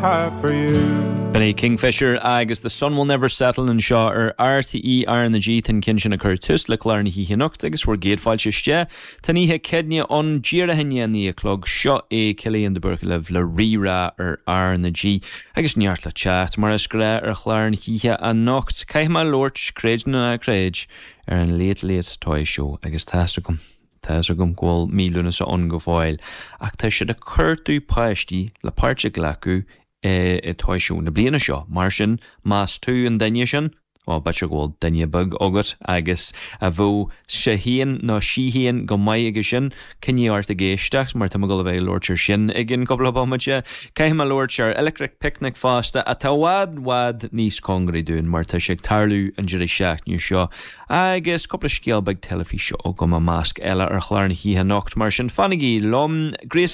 Have for you. B'in é Kingfisher agus The Sun Will Never Settle anseo ar RTÉ RnaG. Tá an ceann sin ag cur tús le clár na hoíche anocht agus bhur gcéad fáilte isteach. Tá an oíche Céadaoine ann díreach i ndiaidh a 9 a chlog. Seo é Cillian de Búrca libh le Rí-Rá ar RnaG agus neart le teacht mar is gnáth ar chlár na hoíche anocht. Caithfidh mé labhairt, creid nó ná creid, ar an Late Late Toy Show agus tá's agam, Tá's agam go bhfuil mí Lúnasa ann go fóill, ach tá siad ag cuartú páistí le páirt a ghlacadh i Toy Show na bliana seo. Mar sin, más tú an duine sin, bhuel, b'fhéidir go bhfuil duine beag agat agus a bheadh sé féin nó sí féin go maith aige sin, coinnigh ort ag éisteacht mar tá mé ag dul a bheith ag labhairt ar sin i gcionn cúpla bomaite. Caithfidh mé labhairt ar Electric Picnic fosta, atá i bhfad, bhfad níos cóngaraí dúinn mar tá sé ag tarlú an deireadh seachtaine seo. Agus cúpla scéal beag teilifíse agam i measc eile ar chlár na hoíche anocht, mar sin fanaigí liom.